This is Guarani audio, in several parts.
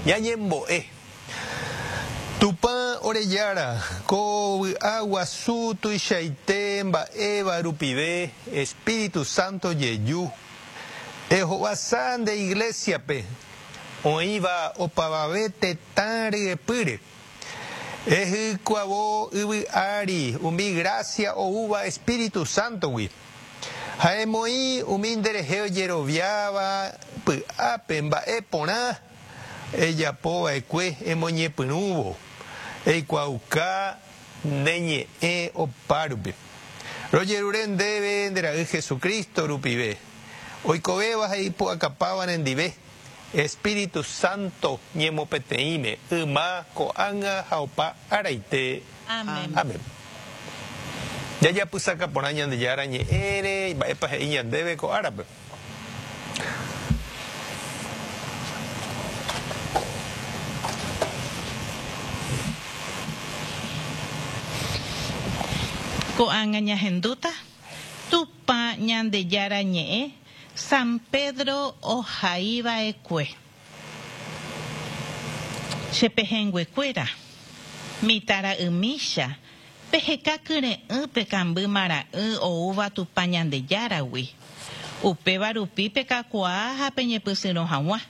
Ñañembo'e. Tupã ore Jára, ko vy'a guasu tuichaite mba'éva rupive Espíritu Santo jeju, ehovasa nde Iglesia-pe, oĩva opavave tetã ryepýre. Ehykuavo yvy ári umi grásia oúva Espíritu Santo-gui, ha emoĩ umi nderehe ojeroviáva py'ápe mba'e porã ejapo va'ekue emoñepyrũvo eikuaauka ne ñe'ẽ opárupi. Rojerure ndéve nde Ra'y Jesucristo rupive, oikovéva ha ipu'akapáva nendive, Espíritu Santo ñemopeteĩme, yma, ko'ág̃a ha opa araite. Amén. Amén. Jajapysaka porã Ñandejára ñe'ẽre, mba'épa he'i ñandéve ko árape. Ko'ág̃a ñahendúta Tupã Ñandejára ñe'ẽ San Pedro ohaiva'ekue. Che pehẽnguekuéra, mitãra'ymícha, peheka kyre'ỹ pe kamby mara'ỹ oúva Tupã Ñandejáragui. Upéva rupi pekakuaa ha peñepysyrõ hag̃ua.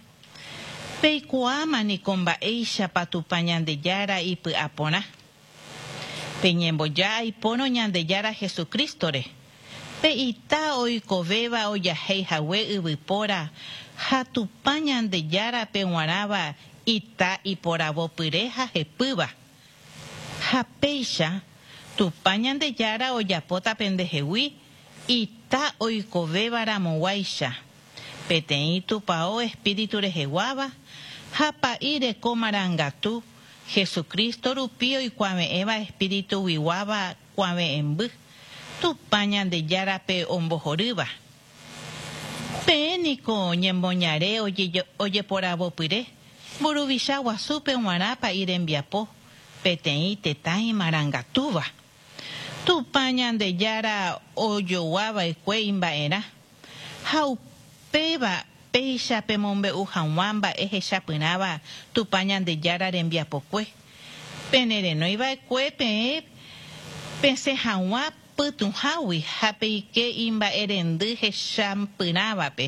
Peikuaáma niko mba'éichapa Tupã Ñandejára ipy'a porã. Peñemboja aipórõ Ñandejára Jesucristo-re, pe ita oikovéva ojahéi hague yvypóra ha Tupã Ñandejárape g̃uarãva ita iporavopyre ha hepýva. Ha péicha, Tupã Ñandejára ojapóta pendehegui ita oikovéva ramoguáicha, peteĩ tupao espíritu reheguáva ha pa'i reko marangatu Jesucristo rupi oikuave'ẽva espírituguiguáva kuave'ẽmby, Tupã Ñandejárape ombohorýva. Peẽ niko ñemoñare ojeporavopyre, mburuvicha guasúpe g̃uarã pa'i rembiapo, peteĩ tetã imarangatúva. Tupã Ñandejára ojogua va'ekue imba'erã, ha upéva péicha pemombe'u hag̃ua mba'e hechapyrãva Tupã Ñandejára rembiapokue, pene renói va'ekue peẽ pesẽ hag̃ua pytũhágui ha peike imba'erendy hechapyrãvape.